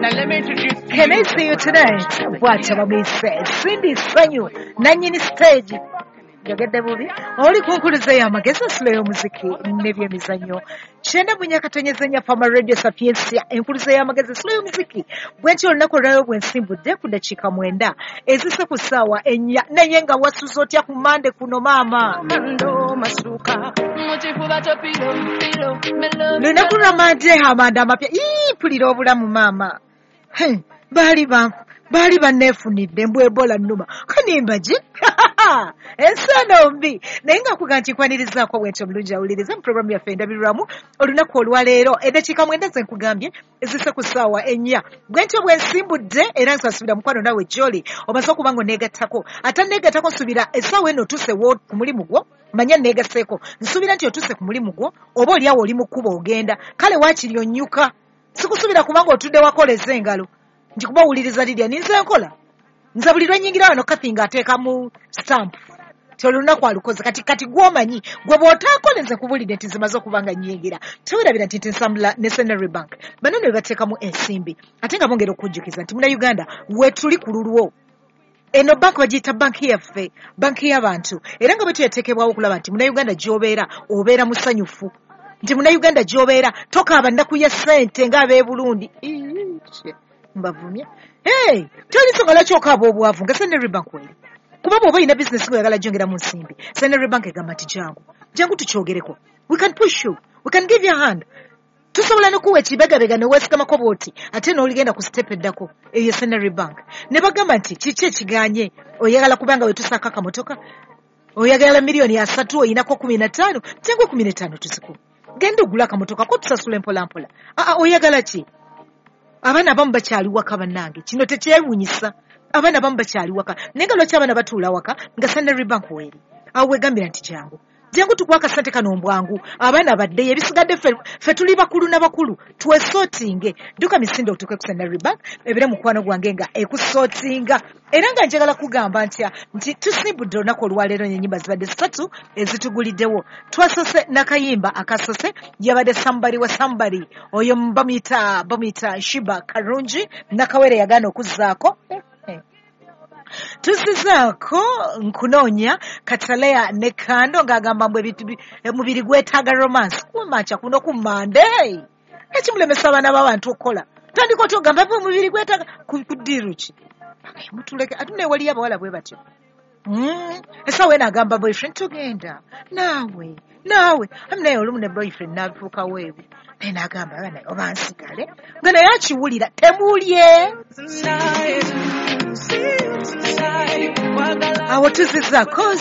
Can I see you tonight? Bw'atyo bamuyise Cindy Sanyu, nannyini stage. Njogedde bubi. Oli ku nkuluze y'amagezi, ensula y'omuziki n'ebyemizannyo. 94.4 Fama Radio Sapientia, enkuluze y'amagezi, ensula y'omuziki. Bwe ntyo olunaku olwaleero bwe nsimbudde ku ddakiika 9 ezise ku ssaawa 4. Naye nga wasuze otya ku Mande kuno maama? Lunaku lwa Mande, amanda amapya. Ii, mpulira obulamu maama. Baali banneefunidde mbu Ebola nnuma. Kanimba gye? Ensi eno mbi. Naye nga kuga nti nkwanirizaako bwentyo omulungi awuliriza mu pulogulaamu yaffe endabirwamu olunaku olwaleero. Eddakiika 9 ze nkugambye ezise ku ssaawa 4. Bwentyo bwe nsimbudde era nsasubira mukwano naawe gy'oli omaze okuba nga oneegattako. Ate neegattako nsuubira essaawa eno otuuse ku mulimu gwo, manya neegaseeko. Nsuubira nti otuuse ku mulimu gwo oba oli awo oli mu kkubo ogenda. Kale waakiri onnyuka. Sikusuubira kubanga otudde wakoleza engalo. Nti kuba owuliriza Lydia ninze nkola. Nze buli lwe nnyingira wano Kathy ng'ateekamu stamp. Ti olunaku alukoze. Kati gw'omanyi gwe bw'otaakole nze nkubulidde nti zimaze okuba nga nnyingira. Tewerabira nti nsambula ne Centenary Bank. Bano ne bateekamu ensimbi. Ate nga bongera okujjukiza nti Munnayuganda weetuli ku lulwo. Eno banki bagiyita banki yaffe, banki y'abantu. Era nga bwe tuyateekebwawo okulaba nti Munnayuganda gy'obeera obeera musanyufu. Nti Munnayuganda gy'obeera tokaaba nnaku ya ssente ng'ab'e Burundi. Mbavumya. Hey, toli nsonga lwaki okaaba obwavu nga Centenary Bank weri. Kuba bw'oba olina bizinesi ng'oyagala gyongeramu nsimbi, Centenary Bank egamba nti jangu. Jangu tukyogereko. We can push you. We can give you a hand. Tusobola n'okuwa ekibegabega ne weesigamako bw'oti ate n'oligenda ku step eddako eyo Centenary Bank. Ne bagamba nti kiki ekiganye oyagala kubanga wetusaako akamotoka, oyagala miliyoni 3 oyinako 15, jangu 15 tuzikuwe. Genda ogule akamotoka ko tusasule mpola mpola. Oyagala ki? Abaana abamu bakyali waka bannange, kino tekyewuunyisa. Abaana abamu bakyali waka, naye nga lwaki abaana batuula waka nga Centenary Bank weeri? Awo wegambira nti jangu. Jangu tukuwa akasente kano mbwangu, abaana baddeyo, ebisigadde ffe tuli bakulu na bakulu, twesootinge. Dduka misinde otuuke ku Centenary Bank, ebeere mukwano gwange nga ekusootinga. Era nga njagala kugamba nti tusimbudde olunaku olwaleero n'ennyimba zibadde 3 ezituguliddewo. Twasose n'akayimba akasose, yabadde Somebody wa Somebody, oyo bamuyita Shiba Karungi, Nakawere yagaana okuzzaako. Tuzizaako nkunoonya Katalea ne Kando ng'agamba mbu omubiri gwetaaga romance. Kumakya kuno ku Mande. Ekimulemesa abaana b'abantu okukola. Tandika otya ogamba mbu omubiri gwetaaga ku ddiiru ki? Mutuleke, ate naye waliyo abawala bwe batyo. Essaawa eno agamba boyfriend tugenda. Naawe. Ami naye olumu ne boyfriend n'afuukawo ebyo. Naye n'agamba naye oba nsigale. Nga naye akiwulira temulye. Awo tuzizaako.